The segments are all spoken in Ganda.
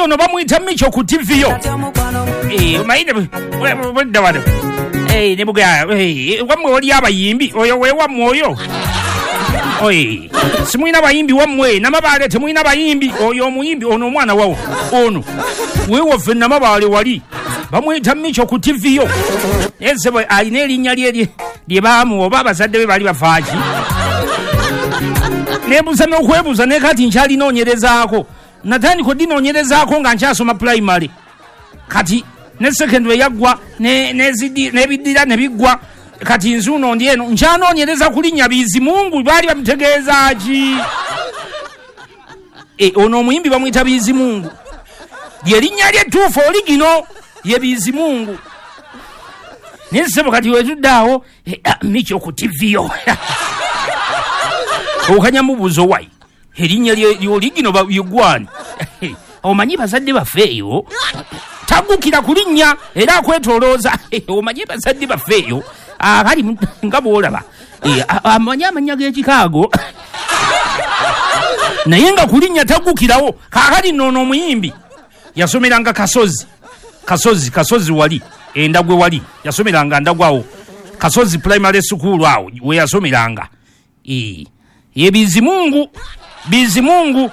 Ono bamuyita Micho ku TV yo. Omanyi budda wano. Ne buga, wammwe wali abayimbi, oyo we wammwe oyo. Oye, simulina bayimbi wammwe, Namabaale temulina bayimbi, oyo omuyimbi ono omwana wawo, ono. Weewaffe Namabaale wali. Bamuyita Micho ku TV yo. Ese bwe alina erinnya lye lye baamuwa oba abazadde be baali bafaaki. Neebuuza n'okwebuuza naye kati nkyalinoonyerezaako. Natandika odinoonyerezaako nga nkyasoma primary. Kati ne secondary yaggwa n'ebiddira ne biggwa. Kati nzuuno ndi eno nkyanoonyereza ku linnya Bizimungu baali bamutegeeza ki? Ono omuyimbi bamuyita Bizimungu. Lye linnya lye ttuufu oligino ye Bizimungu. Naye ssebo kati wetudde awo Micho ku TV yo. Okanyamubuuza wayi erinnya lyoligino yeggwani. Omanyi bazadde baffe eyo tagukira ku linnya era akwetolooza. Omanyi bazadde baffe eyo abali nga bw'olaba amanyi amannya g'ekikaago naye nga ku linnya tagukirawo. Kaakati nno ono omuyimbi yasomeranga Kasozi, Kasozi wali Endagwe wali yasomeranga Ndagwe awo Kasozi Primary School awo we yasomeranga. Ye Bizimungu, Bizimungu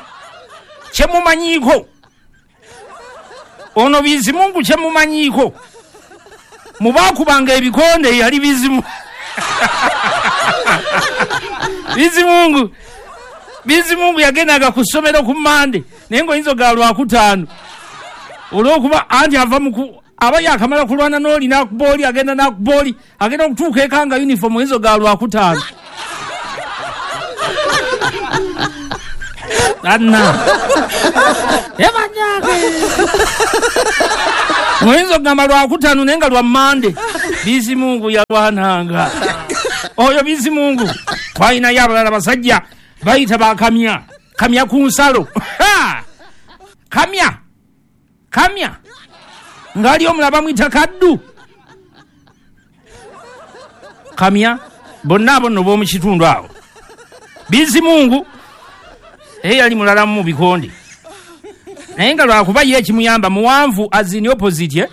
kyemumanyiiko. Ono Bizimungu kyemumanyiiko mubaakubanga ebikonde yali Bizimungu. Bizimungu, Bizimungu yagendanga ku ssomero ku Mmande naye ng'oyinza ogaba Lwakutaano olw'okuba anti ava mu aba yakamala kulwana n'oli n'akuba oli agenda n'akuba oli agenda okutuuka eka nga uniform oyinza ogaba Lwakutaano. Anna ebanyage oyinza okugamba Lwakutaano naye nga lwa Mmande. Bizimungu yalwananga oyo Bizimungu. Twalinayo abalala basajja bayita bakamya kamya ku nsalo. Kamya kamya ng'ali omulala bamuyita Kaddu. Kamya bonna abo nno b'omu kitundu awo. Bizimungu ye yali mulala mu bikonde naye nga lwakuba ye ekimuyamba muwanvu as in opposite.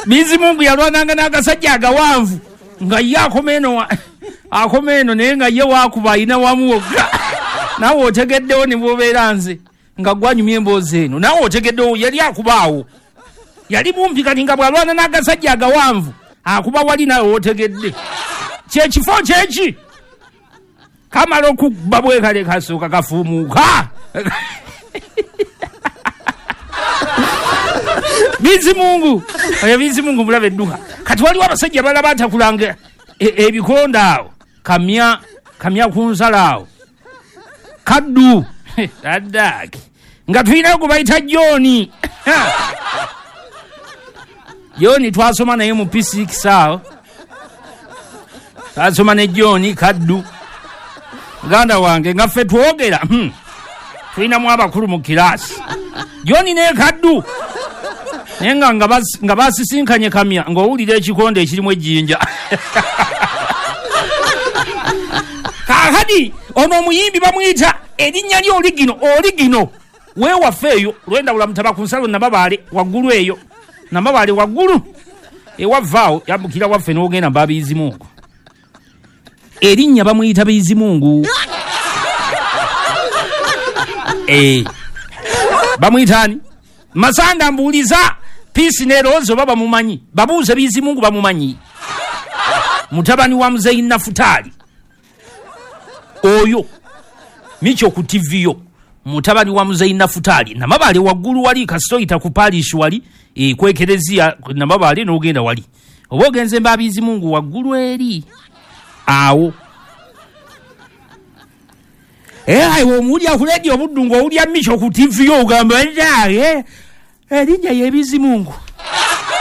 Bizimungu yalwananga n'agasajja agawanvu nga ye akoma eno akoma eno naye nga ye waakuba ayina wamu wokka. Naawe otegeddewo ne bw'obeera nze nga gwanyumya emboozi eno naawe otegeddewo yali akubaawo yali mumpi kati nga bw'alwana n'agasajja agawanvu akuba wali naawe otegedde kyekifo kyeki kamala okukuba bwekale kasooka kafuumuuka. Bizimungu oyo Bizimungu mulabe edduka. Kati waliwo abasajja balala batakulanga ebikonde awo kamya kamya ku nsalo awo Kaddu addaaki nga tulinayo gwe bayita John. John twasoma naye mu P6 awo twasoma ne John Kaddu muganda wange nga ffe twogera tulinamu abakulu mu kiraasi. John ne Kaddu naye nga basisinkanye kamya ng'owulira ekikonde ekirimu ejjinja. Kaakati ono omuyimbi bamuyita erinnya lye oligino, oligino weewaffe eyo lwendawula mutaba ku nsalo Namabaale waggulu eyo Namabaale waggulu ewavaawo yambukira waffe n'ogenda mba Bizimungu. Erinnya bamuyita Bizimungu. Bamuyita ani? Masanda mbuuliza Peace ne Rose oba bamumanyi, babuuze Bizimungu bamumanyi. Mutabani wa Muzeeyi Nafutaali oyo Micho ku TV yo mutabani wa Muzeeyi Nafutaali Namabaale waggulu wali kasitoyita ku parish wali ku ekereziya Namabaale n'ogenda wali oba ogenze mba Bizimungu waggulu eri awo. Awo omuwulira ku leediyo obuddu ng'owulira Micho ku TV yo ogamba erinnya ye Bizimungu.